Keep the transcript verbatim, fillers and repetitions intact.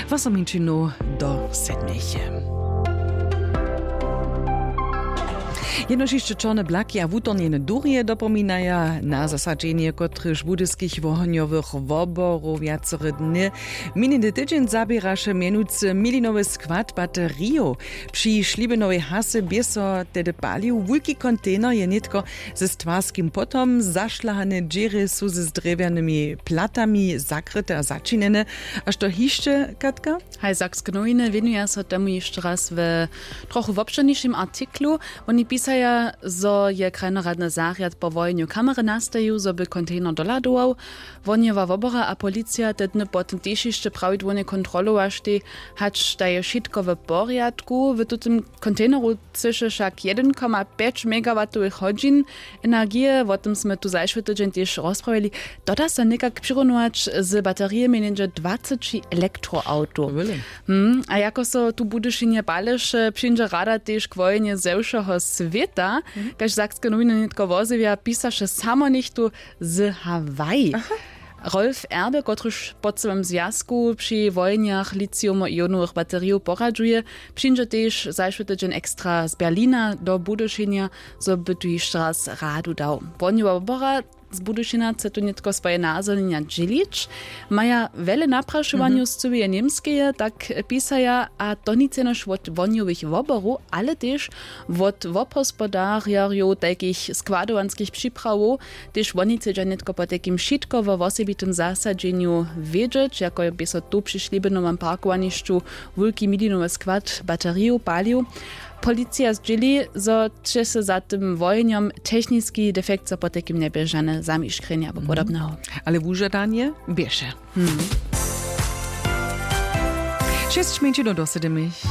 Wosominčinu do sedmeje. Jenož hišće čorne blaki a wutornjene durje dopominaja na zasadźenje, kotrež budyskich wohonjowych woborow wjacore dny. Minjeny tydźeń zaběraše mjenujcy milinowy skład baterijow. Při šlibinowej hasy bě so tehdy palił wulki kontejner, je nětko ze stwarskim potom zašlahane dźěry su z drjewjanymi platami zakryte a začinjene. A što hišće, Katka? Haj, Sakske nowiny wěnuja so temu hišće raz w trochu wobšěrnišim artiklu. Woni pisaja, zo je krajnoradny zarjad po wojenju kamery nastajił, zo by kontejner dohladował. Wohnjowa wobora a policija te dny potom tež hišće prawidłownje kontrolowaštej, hač da je wšitko w porjadku. W tutym kontejneru třěše wšak jedyn koma pjeć megawatowych hodźin energije. Wo tym smy tu zašły tydźeń tež rozprawili. To da so někak přirunować z baterijemi něhdźe dwaceći elektroawtow. Hm, a jako so tu w Budyšinje paleše, přińdźe rada tež k wojenje ze wšeho swěta. Kaž Sakske nowiny nětko wozjewja, pisaše samo něchtó z Hawaii. Rolf Erbe, kotryž po cyłym zwjazku při wojenjach lithium-ionowych baterijow poradźuje, přińdźe tež zašły tydźeń ekstra z Berlina do Budyšinja, zo by tu hišće raz radu dał. Wohnjowa wobora z Budyšina chce tu nětko swoje nazhonjenja dźělić. Maja wjele naprašowanjow z cyłeje Němskeje, tak pisaja, a to nic jenož wot wohnjowych woborow, ale tež wot wobhospodarjerjow tajkich składowanskich připrawow. Tež woni chcedźa nětko potajkim wšitko wo wosebitym zasadźenju wědźeć, jako bě so tu při šlibinowym parkowanišću wulki milinowy skład baterijow palił. Policija zdźěli, zo će se za tym wojenjom techniski defekt, zo potajkim njebě žane zamiškrjenje abo podobneho. Ale wužadanje běše. Šěsć mjeńšinow do sedymich.